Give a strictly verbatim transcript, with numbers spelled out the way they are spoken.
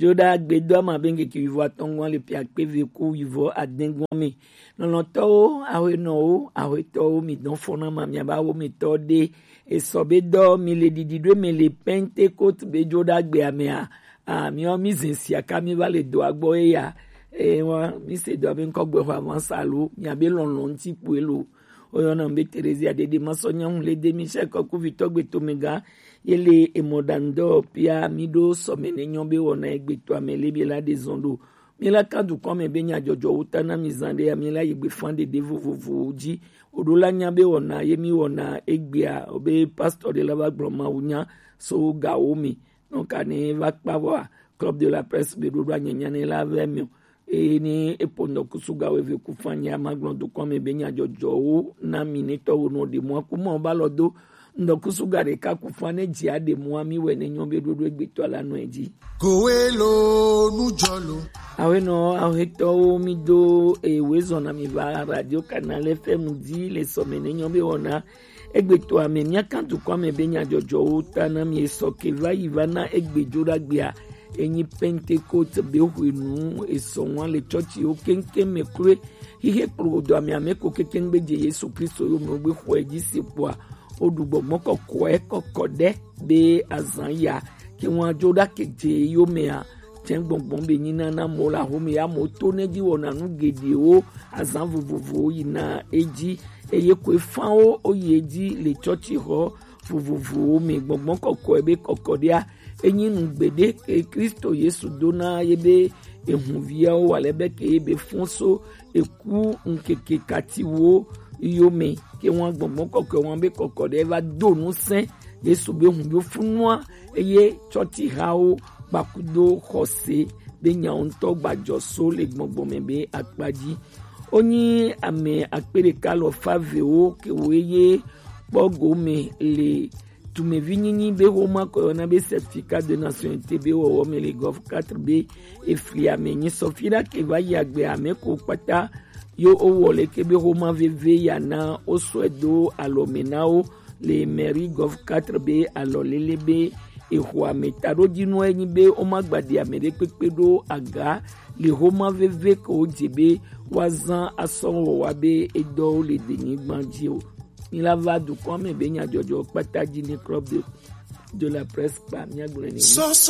Joɖa gbedo ama be ŋkeke wivo atɔngɔn le piakpe ve ku wivo adengɔn me. Lɔlɔtɔwo, awenɔwo, awetɔwo, mi dɔn fɔna ma mi aba wo mi tɔ de. Esɔ be dɔ mi le didi ɖo me le Pentecote be joɖa gbe amea. A mi ɔ mi zin sia ka mi va le do agbɔ ye ya. E wa mi se dɔ be ŋkɔ gbe xɔ avansa lo mi abe lɔlɔ ŋti kpue lo. Oyɔna be Terezia dede masɔ nyaŋu le de mi sɛ kɔku vitɔ gbe to me ga. Ye le emɔ ɖaŋdɔ pia mi ɖo sɔme ne nyɔ be wɔna egbe to ame le bi la de zɔn ɖo. Mi la ka dukɔ me be nya jɔjɔ wo ta na mi zan ɖe ya mi la yi gbe fan ɖeɖe vovovowo dzi. Oɖo la nya be wɔna ye mi wɔna egbea obe pastor ɖe la va gblɔ mawu nya so gawo me. Nɔ ka ne va kpa vɔa Club de la Presse be ɖoɖo anyanya ne la vɛ mi o. Eye ni epo ŋdɔkusu gawo eve ku fan ya ma gblɔ dukɔ me be nya jɔjɔwo na mi ne tɔwo no ɖe mɔ ku mɔ ba lɔ do. Ŋdɔkusu ga ɖeka ku fan ne dzi aɖe mɔ mi wɛ ne nyɔ be ɖoɖo egbetɔ la nɔ edzi. Kowe lo nu jɔ lo. Awenɔ ahetɔwo mi do ewe zɔna mi va Radio Canal F M dzi le sɔme ne nyɔ be wɔna egbe to ame mia kan dukɔ ame be nya jɔjɔwo ta na mi esɔ ke va yi va na egbe jo ɖa gbea. Enyi Pentecote be hwenu esɔ ŋua le tsɔtsi wo keŋkeŋ me kloe. Hihe kplo do ame ame ko kekeŋ be je Yesu Kristo yo me gbe xɔe dzi si kpɔa. O ɖu gbɔgbɔ kɔkɔe kɔkɔ ɖe be azan ya ke ŋua jo ɖa ke je yo mea. Tsɛ gbɔngbɔn be nyina na mɔ la home ya mɔ to ne dzi wɔna nu geɖewo azan vovovowo yina edzi. Eye koe fanwo o yi edzi le tsɔtsi xɔ vovovowo me. Gbɔngbɔn kɔkɔe be kɔkɔɖea enyi nu gbeɖe ke Kristo Yesu do na ye be ehunviawo wa le be ke ye be fɔn so eku ŋkeke katiwo yo me. Ke wan gbɔngbɔn kɔkɔe wan be kɔkɔɖe va do nu sɛn Yesu be hun yo funua eye tsɔtsi hawo kpakudo xɔse be nyawo ŋutɔ gbadzɔ so le gbɔngbɔn me be akpa dzi. Wonyi ame akpe ɖeka lɔ fa vewo ke wo ye kpɔ gome le tumevi nyinyi be wo ma kɔ yɔna be certificat de nationalité be wɔwɔ me le gɔf quatre be efli ame nyi sɔfi ɖa ke va yi agbe ame ko kpata yo wo wɔ le ke be wo ma veve ya na wo sɔe do alɔ me na wo le mairie gɔf quatre be alɔ lele be exɔ ame ta ɖo dzi nua enyi be wo ma gba ɖi ame ɖe kpekpe ɖo aga le wo ma veve ke wo dze be wa zan asɔ wɔ wa be edɔ wo le denyigba dzi o. Mi la va dukɔ me be nyadzɔdzɔ kpata dzi ne Club de, de la Presse kpa mia gblɔ ne.